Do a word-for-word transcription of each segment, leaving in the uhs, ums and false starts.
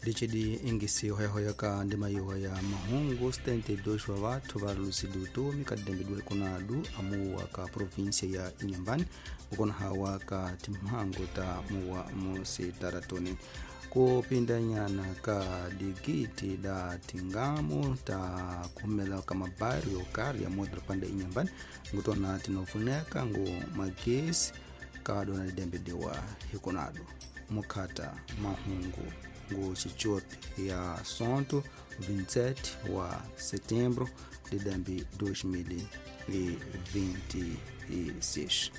Richidi ingisi hoyahoya ka ndima yiwa ya mahungu setenta e dois wa vathu va luzile utomi ka didembediwa ikunadu amuwa ka província ya Inhambane kukona hawa ka timhangu ta muwa musitaratoni kupindanyana ka digiti da tingamu ta kuhumela ka mabairro yokali ya modropanda Inhambane ngutona tinofuneka ngu magesi kadona didembediwa hikunadu mukhata mahungu ngu xicopi ya sonto vinte e sete wa setembro de dois mil e vinte e seis.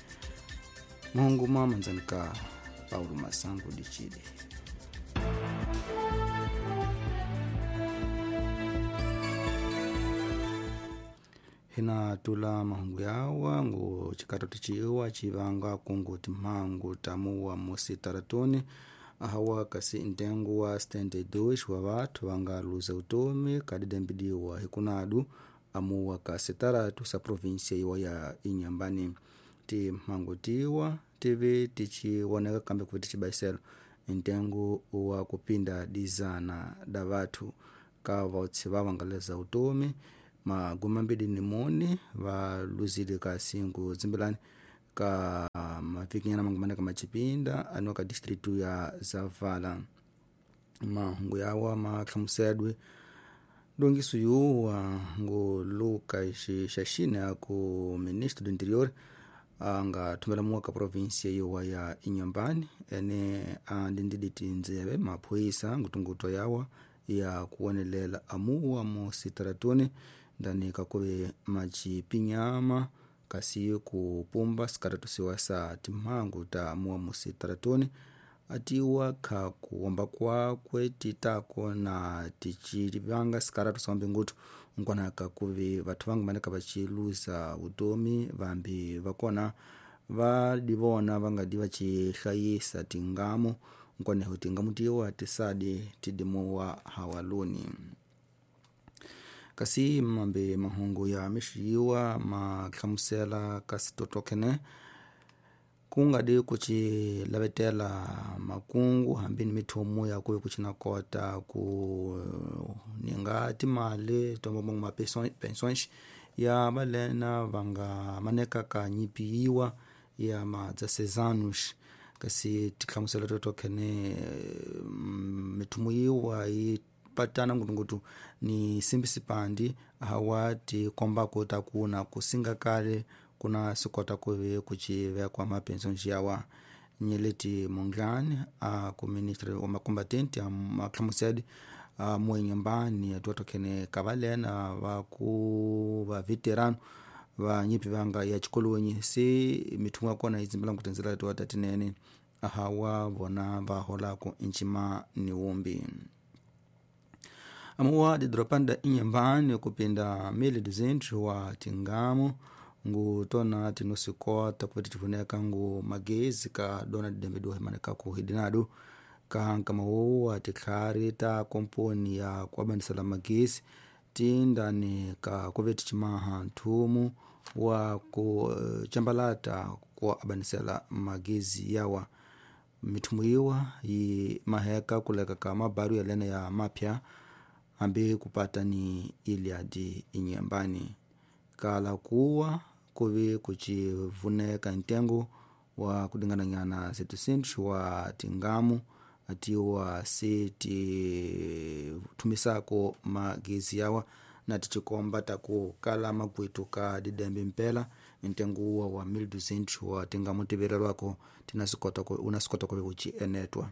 Mahungu mamanzani ka Paulo Masango de Chile. Hina tula mahungu yawa ngu chikato tichiwa chivanga kungu timhangu tamuwa musitaratoni ahawa kasi ntengo wa setenta e dois wa vathu vanga luza utomi kadidembidiwa hikunadu amuwa ka sitaratu sa província iwa ya Inhambane. Timhangu tiwa tive tichiwoneka kambe kuvi tichibaiselo ntengo wa kupinda dizana da vathu ka vautsi vavangaleza utomi magumi mambiri ni mune valuzile kasi ngu zimbelani ka mavikinyana mangumana ka machipinda anu ka distritu ya Zavala. Mahungu yawa mahlamusedwe ndongiso yuwa ngu Luka Xaxina ya ku ministro do interior anga thumela muwa ka província yiwa ya Inhambane ene andindidi tindzeve maphoyisa ngutunguto yawa ya kuwonelela amuwa mu sitaratuni ndani kakuve machipinyama kasi kupumba sikaratusiwa sa timhangu ta muwa musitaratuni atiwa kha kuwomba kwakwe titako na tichivanga sikaratu sambi ngutu nkwanaka kuvi vathu vangu maneka vachiluza utomi vambi vakona vadivona vangadi vachihlayisa tingamu nkwaneho tingamu tiwa tisadi tidimuwa hawaluni. Kasi mambe mahungu ya mixiyuwa mahlamusela kasi totokhene kungadi kuchilavetela makungu hambi ni mithomo ya kuve kuchinakota ku ninga timali tombombo ma pensões ya valena vanga maneka ka nyipiyiwa ya madzasezanos kasi tihlamusela totokhene mithomo yiwa yi patana ngutungutu ni simbisipandi hawa tikombako takuna kusinga kale kuna sikota kuve kuchivekwa mapensões yawa nyeleti monglani a ku ministro wa makombatente a mahlamusedi a muenyambani atuatokhene kavalena va ku va veterano va nyipi vanga ya chikolonyi se mithumo ya kona yi dzimbela ngutindzela tiwa tatinene ahawa vona va holako ncima ni wumbi. Amuwa didropanda Inhambane kupinda mil e duzentos wa tingamu ngu tona tinosikota kupeti tivoneka ngu magezi ka dona didembediwa himaneka ku hidinadu ka nkama titlhari ta komponi ya kuabanisela magezi tindani ka kuveti chimaha nthumu wa ku chambalata ku abanisela magezi yawa mithumu yiwa yi maheka kuleka ka mabaru yalena ya mapya hambi kupata ni Iliadi Inhambane kala kuwa kuvi kuchivuneka ntengo wa kudingananyana setecentos wa tingamu atiwa se tithumisako magezi yawa na tichikomba taku kala makwitu ka didembe mpela ntengo uwa wa mil duzentos wa tingamu tiverelwako unasikota kuvi kuchienetwa.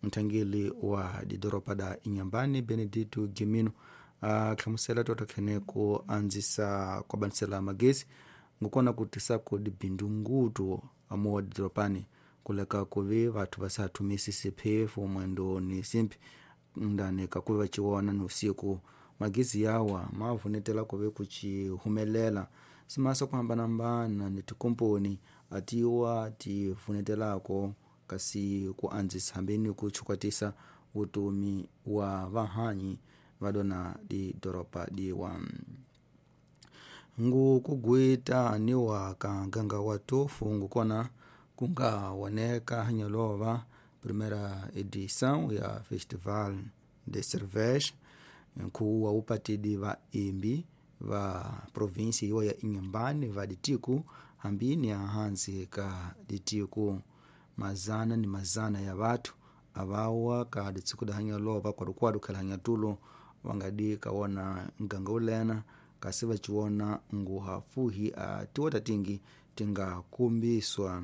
Nthangeli wa didoropa da Inhambane Benedito Gimino ahlamusela totokhene ku andzisa kuabanisela magezi ngukona kutisako dibindu ngutu amuwa didoropani kuleka kuvi vathu vasathumisi siphefu mwendo ni simpi ndani kakuvi vachiwona ni usiku magezi yawa mavunetela kuve kuchihumelela simasa kuhambanahambana ni tikomponi atiwa tivunetelako kasi ku andzisa hambeni kuchukwatisa utomi wa vahanyi vadona didoropa diwa. Ngu kugwita niwa ka nganga wa tofu ngukona kunga woneka hanyalova primeira edição ya festival de Cerveja, nkhuwa upatidi va imbi va provinsi iwa ya Inhambane va ditiku hambi ni ahansi ka ditiku. Mazana ni mazana ya vathu avawa ka ditsiko da lova kwadukwadu khala hanya tulo wangadi kawona nganga ulena kasi vachiwona nguha fuhi a tiwota tingi tingakumbiswa.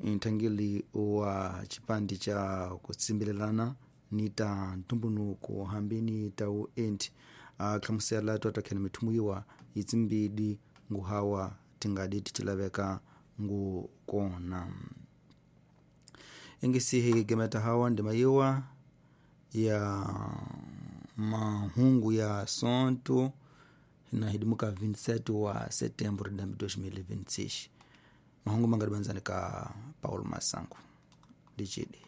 Nthangeli wa chipandi cha kutsimbilelana ni ta ntumbunuko hambi ni ta uenti akhlamusela twatakhene mithumu yiwa yitsimbidi nguhawa tingadi ticilaveka ngu kona. Ingisihi gemeta hawa ndima yiwa ya mahungu ya sonto na hidimuka vinte e sete wa setembro de dois mil e vinte e seis. Mahungu mangadi banzani ka Paulo Masango dicidi.